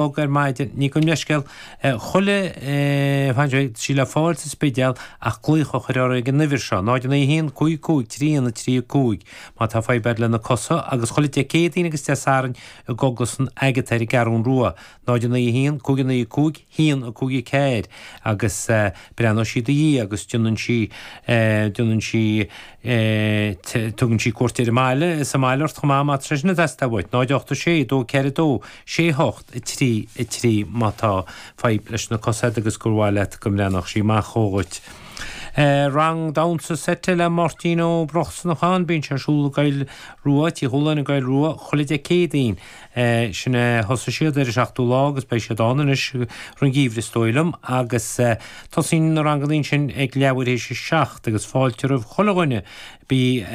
Chlog ar maidin. Ní gabh mo leithscéal, chuile fan sé, tá sí le fáil sa Spidéal ach glaoch a chur uirthi ag an uimhir seo, 0 9 1 5 5 3 1 3 5, má tá fadhb agat le na cosa agus chuile Dé Céadaoin agus Dé Sathairn i gCóglann San Agatha ar an gCeathrún Rua, 0 9 1 5 9 5 1 5 4 agus breathnóidh sí i do dhiaidh agus déanann sí, déanann sí, tugann sí cuairt ar an mbaile, sa mbaile ort chomh maith má tá sé sin ag teastáil uait, 0 8 6 2 4 2 6 8 3 3 má tá fadhb leis na cosa agat agus gur mhaith leat go mbreathnódh sí amach dhuit. Rang damhsa seite le Máirtín Ó Brosnacháin, bíonn sé ar siúl i gCoill Rua, Tí Chualáin i gCoill Rua, chuile Dé Céadaoin. Sin é, thosaigh siad ar an seachtú lá agus beidh siad ann anois roimh an gheimhreadh is dóigh liom agus tosaíonn na ranganna ansin ag leathuair théis a seacht agus fáilte roimh chuile dhuine, bí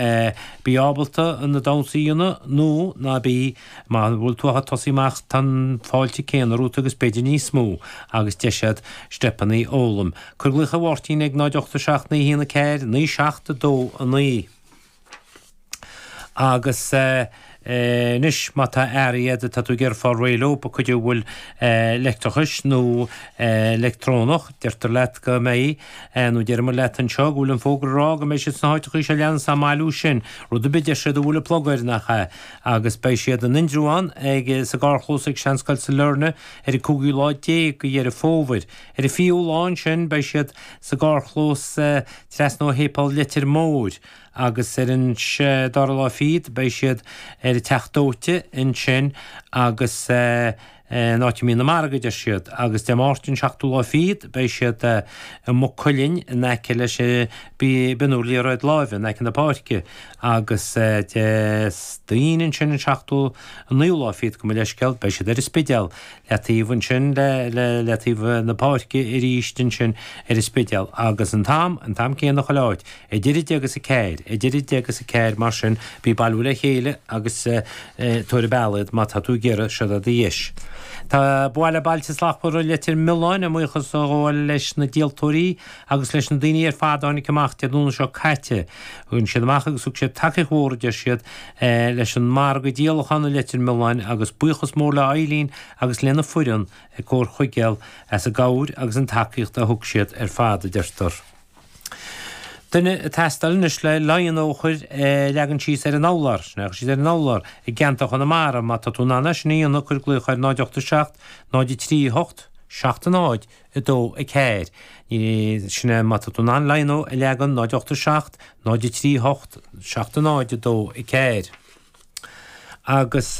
bí ábalta na damhsaí a dhéanamh nó ná bí. Má bhfuil tú ach ag tosaí amach tá an fáilte céanna romhat agus b'fhéidir níos mó agus deis agat steipeanna a fhoghlaim. Cuir glaoch ar Mháirtín ag 0 8 7 9 1 4 9 7 2 9. Agus anois má tá earraí agat atá tú ag iarraidh fáil réidh leo, cuid a bhfuil leictreachais nó leictreonach, deirtear leat go mbeidh, nó deirimid leat anseo go bhfuil an fógra ag rá go mbeidh siad sna háiteachaí seo leanas á mbailiú sin, rud ar bith deir siad a bhfuil plug air, nach ea? Agus beidh siad in Indreabhán ag sa gcarrchlós ag Seanscoil Sailearna ar an cúigiú lá déag de Dheireadh Fómhair. Ar an fichiú lá ansin beidh siad sa gcarrchlós trasna ó Shéipéal Leitir Móir agus ar an dara lá fichead beidh siad ar an Teach Dóite ansin agus an áit a mbíonn an margadh, a deir siad, agus Dé Máirt an seachtú lá fichead beidh siad i Maigh Cuilinn in aice leis an bpionúr liathróid láimhe, in aice na páirce, agus Dé Aoine ansin an seachtú, an naoú lá fichead, gabh mo leithscéal, beidh siad ar an Spidéal, leataobh ansin le, leataobh na páirce arís ansin ar an Spidéal, agus an t-am, an t-am céanna chuile áit. Idir 10 agus 4, idir 10 agus 4, mar sin, bí ag bailiú le chéile agus tabhair an bealach iad má tá tú ag iarraidh, seo do dheis. Tá Baill Bailte Slachtmhara Leitir Mealláin ag buíochas a ghabháil leis na díoltóirí agus leis na daoine ar fad a tháinig amach Dé Domhnaigh seo caite. Tháinig siad amach agus thug siad tacaíocht mhór, a deir siad, leis an margadh díolacháin i Leitir Mealláin agus buíochas mór le Eileen agus lena foireann ag Comhar Chuigéal as an gcabhair agus an tacaíocht a thug siad ar fad, a deirtear. Duine ag teastáil anois le lino a chur leagan síos ar an urlár, sin é, síos ar an urlár i gceantar Chonamara, má tá tú in ann é sin a dhéanamh, cuir glaoch ar 0 8 7 0 3 8 7 0 2 4. Sin é, má tá tú in ann lino a leagan 0 8 7 0 3 8 7 0 2 4. Agus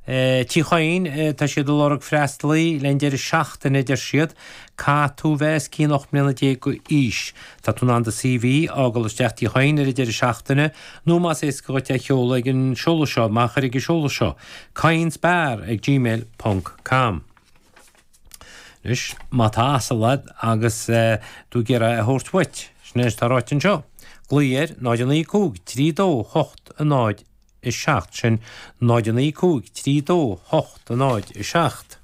Tí Chadhain, tá siad ag lorg freastalaí le an deireadh seachtaine, a deir siad. Caithfidh tú bheith os cionn 18 mbliana d'aois. Tá tú in ann do CV a fhágáil isteach Tí Chadhain ar an deireadh seachtaine, nó más éasca dhuit é a sheoladh ag an seoladh seo, maith a chur ag an seoladh seo, cadhainsbar ag gmail ponc com. Anois, má tá asal agat agus tú ag iarraidh é a thabhairt uait, sin é atá ráite anseo, glaoigh ar 0 9 5 3 2 8 0 7, sin 0 9 5 3 2 8 0 7.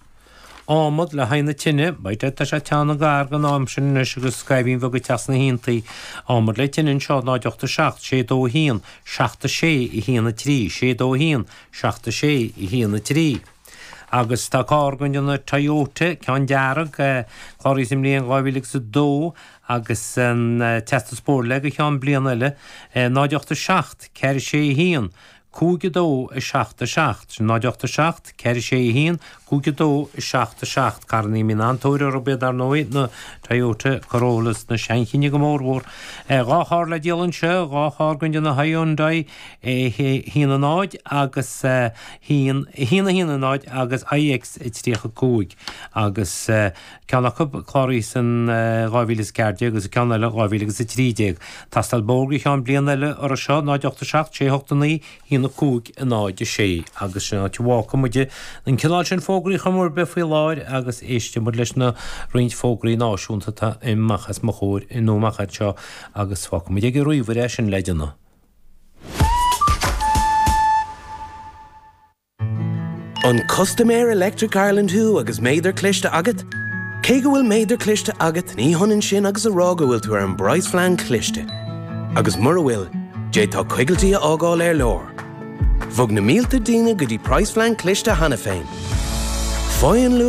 Adhmad le haghaidh na tine, beidh, tá sé teann gar don am sin anois agus scaimhín bheag ag teacht sna haontaí. Adhmad le tine anseo 0 8 7 6 2 1 7 6 1 3, 6 2 1 7 6 1 3. Agus tá carr den déanamh Toyota, ceann dearg, cláraithe sa mbliain 2002 agus an teastas bóthair leis go ceann bliana eile, 0 8 7 4 6 1 5 2 7 7, sin 0 8 7 4 6 1 5 2 7 7. Carrannaí a mbíonn an-tóir orthu iad, dar ndóigh, na Toyota Corollas, na seanchinn go mórmhór. Dhá charr le díol anseo, dhá charr den déanamh Hyundai 1 0 agus 1 1 1 0 agus iX 35 agus ceann acu cláraithe san 2014 agus an ceann eile 2013. Tástáil bóthair go ceann bliana eile orthu seo, 0 8 7 6 8 9 1 5 0 6 agus sin áit a bhfágfaidh muid an cineál sin fógraí chor ar bith faoi láthair agus éistfidh muid leis na roinnt fógraí náisiúnta atá amach os mo chomhair nó amach anseo agus fágfaidh muid ag an ríomhaire é sin le déanamh. An custaiméir Electric Ireland thú agus méadar cliste agat? Cé go bhfuil méadar cliste agat, ní hionann sin agus a rá go bhfuil tú ar an bpraghasphlean cliste. Agus mura bhfuil, d'fhéadfá coigiltí a fhágáil ar lár. Bhog na mílte daoine go dtí praghasphlean cliste cheana féin. Faigh an luach.